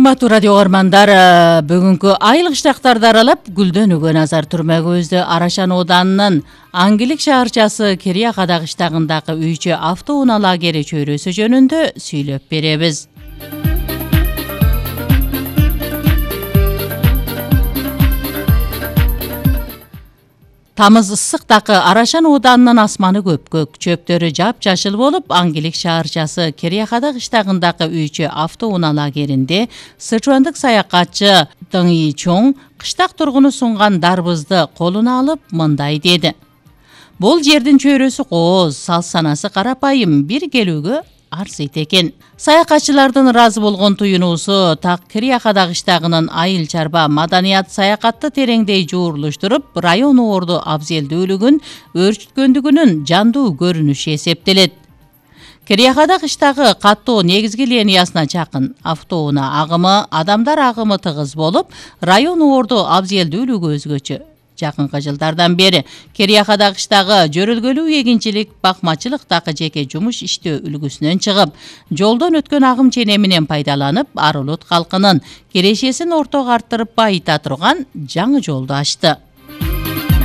Кымбаттуу радио угармандар, бүгүнкү айыл кыштактарды аралап гүлдөнүүгө назар түрмөгүбүздү Арашан ооданынын Аңгилик шаарчасы Кериякада кыштагындагы үйчү автоунаа лагери чөйрөсү жөнүндө сүйлөп беребиз. Тамыз ысыктагы Арашан ооданынын асманы көпкөк, чөптөрү жапжашыл болуп, Аңгилик шаарчасы Кериякада кыштагындагы үйчү автоунаа лагеринде сычуандык саякатчы Дың Ичоң кыштак тургуну сунган дарбызды колуна алып мындай деди. Бул жердин чөйрөсү кооз, сал-санасы карапайым, бир келүүгө арзыйт экен. Саякатчылардын ыраазы болгон туюнуусу так Кериякада кыштагынын айыл чарба маданият саякатты тереңдей жуурулуштуруп, район орду абзелдүүлүгүн өөрчүткөндүгүнүн жандуу көрүнүшү эсептелет. Кериякада кыштагы каттоо негизги линиясына жакын, автоунаа агымы, адамдар агымы тыгыз болуп, район орду абзелдүүлүгү өзгөчө. Жакынкы жылдардан бери Кериякада кыштагы жөрөлгөлүү эгинчилик, бакмачылыктагы жеке жумуш иштөө үлгүсүнөн чыгып, жолдон өткөн агым ченеминен пайдаланып, Арулут калкынын кирешесин ортого арттырып байыта турган жаңы жолду ачты.